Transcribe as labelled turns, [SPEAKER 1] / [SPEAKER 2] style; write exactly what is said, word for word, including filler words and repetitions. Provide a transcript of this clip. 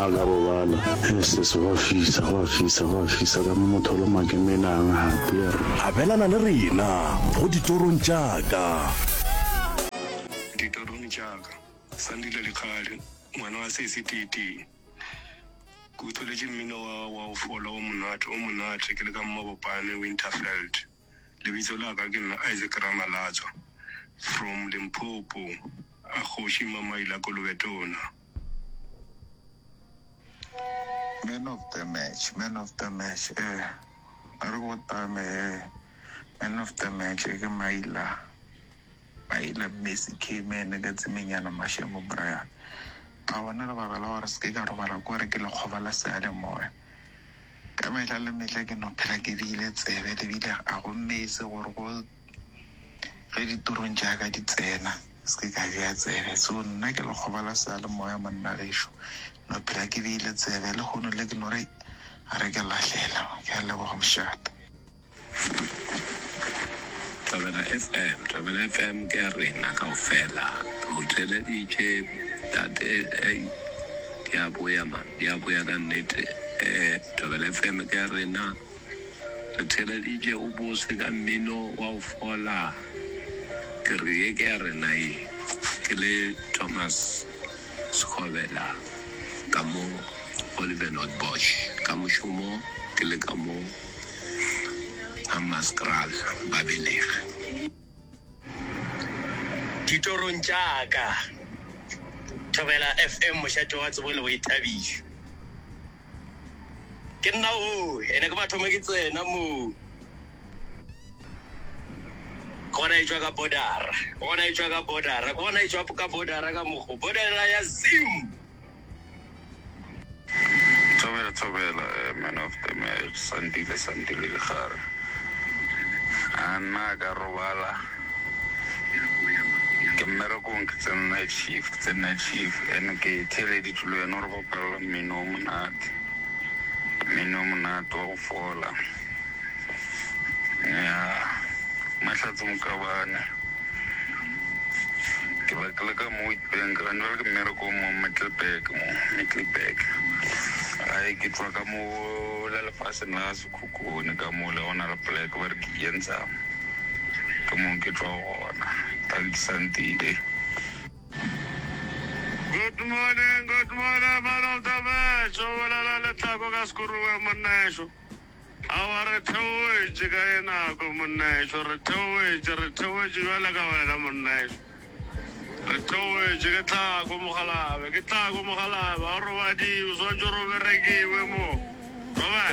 [SPEAKER 1] A ka robala. Ss gwa fisa, gwa fisa, gwa fisa ka mo motho o loma ke menang gape ya re.
[SPEAKER 2] Abelana le rena go Ditorong tša ka.
[SPEAKER 3] Ditorong tša ka, Sandile Lekgale, ngwana wa sesi Titi. Ke utholetše mmino wa wa go fola o monate o monate ke le ka Mabopane Winterveld. Lebitso la ka ke nna Isaac Ramalatswa from Limpopo, a kgoši Mamaila Kolobetona.
[SPEAKER 4] Man of the match, man of the match, eh, a re go tame, eh, man of the match, ke Maila, Maila Messi K-man ka tsemenyana Mashemo Brian. A bona lebaka la gore se ke ka robala ko re ke lekgoba la seyalemoya. Ka mehla le mehla ke no phela ke beile tsebe lebile a go mese gore go ge ditorong tša ka di tsena se ke ka bea tsebe. So nna ke lekgoba la seyalemoya monna gešo. No phela ke beile tsebe le kgono le ke no re a re ke lahlela. Ke a leboga mošate.
[SPEAKER 5] Thobela F M, Thobela F M ke ya rena kaofela. O theeleditše tate, ei, di a boya man, di a boya ka nnete. Eh, Thobela F M ke ya rena. Re theeleditše o bose ka mmino wa go fola. Ke re ye ke ya rena ye. Ke le Thomas Sekgobela ka mo Oliver North Bosch ka mošomo ke le ka mo Hammanskraal Babelegi.
[SPEAKER 6] Ditorong tša ka, Thobela F M mošate wa tsebo le boithabišo. Ke nna o, ene ke mathomo ke tsena mo. Ke gona e tšwa ka border-a, ke gona e tšwa ka border-a, ke gona e tšwa ka border-a ka mokgo, border-a ya Zim.
[SPEAKER 4] Thobela thobela, eh, man of the match Sandile Sandile Legare. A nna ka robala ke mmerekong, ke tsene night shift, ke tsene night shift and ke theeleditše le wena gore bapalela mmino o monate, mmino o monate wa go fola ya Mahlatse Mokabane. Ke ba ke le ka mo Witbank gane jwale, ke mmerekong mo Middelburg, mo Middelburg. Ai, ke tswa ka mo la lefaseng la Sekhukhune ka mo le gona le poleke ba re ke Iensam, ke mo ke tswa gona. Thank you, Santile.
[SPEAKER 7] Good morning, good morning, man of the match. O bolela letlhako ka sekuruwe monnaešo. Aowa, re theoetše ka ye nako monnaešo, re theoetše, re theoetše bjale ka wena monnaešo. Re theoetše ke tlhako mogalabe, ke tlhako mogalabe, a robadiwe, swantše ro berekiwe mo. Roba.